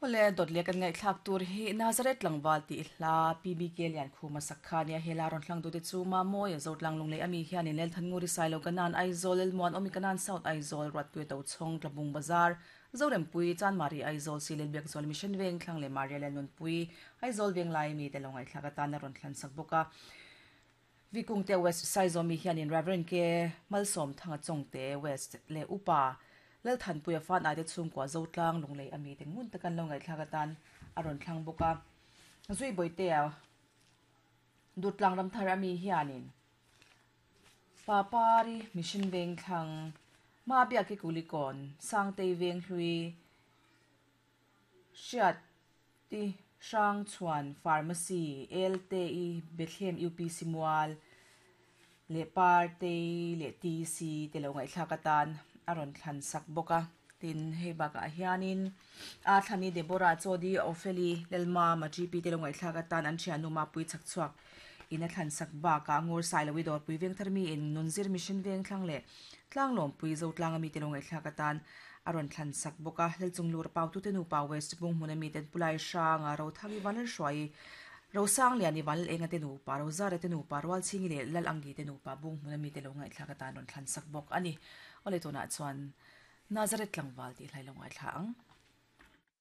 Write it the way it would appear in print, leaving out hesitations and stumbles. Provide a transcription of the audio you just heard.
Awle, dawt leh kan ngaihthlak tur hi Nazareth tlangval tih hla PBK Liankhuma sak kha nia he la rawn hlang dute chu Mamawia Zotlang Lunglei ami hianin Lelthannguri Sailo Kanan Aizawl Lelmuan Awmi Kanan South Aizawl Ruatpuia Tochhawng Tlabung Bazar Zorempui Chanmari Aizawl Silel Biakzual Mission Veng Thlang leh Maria Lalnunpui Aizawl Venglai mite lo ngaihthlak atan a rawn hlan sak bawk a. Vikungte West Saizawmi hianin Rev. K. Malsawmthanga Chawngte West leh Upa Lalthanpuia fan aite chhungkua Zotlang Lunglei a mite ngun taka an lo ngaihthlak atan a rawn thlang bawk a. Zui Bawitea Dutlang Ramthar ami hianin Papari Mission Vengthlang Mabiaki Kulikawn Sangtei Venghlui Hriat Ti Hrang Chhuan Pharmacy, Lte-i Bethlehem UPC Mual leh Partei leh TC te lo ngaihthlak atan a rawn thlan sak bawk a. Tin, hei bakah hianin a thlani Deborah Chawdi Opheli Lalmama GP te lo ngaihthlak atan an thiannu Mapui Chhakchhuak in a thlan sak bakah Ngur Sailovi Dawrpui Vengthar mi in Nunzir Mission Vengthlang leh Tlanglawmpui Zotlanga mite lo ngaihthlak atan a rawn thlan sak bawk a. Lalchunglur Pautute nupa West Bunghmuna miten Pulai Hranga Rothangi Vanlalhruai, Rosangliani Vanlalenga te nupa, Rozara te nupa, Rualchhingi leh Lalangi te nupa Bunghmuna mite lo ngaihthlak atan rawn thlan sak bawk a ni. Awle tunah chuan Nazareth tlangval tih hlai lo ngaithla ang.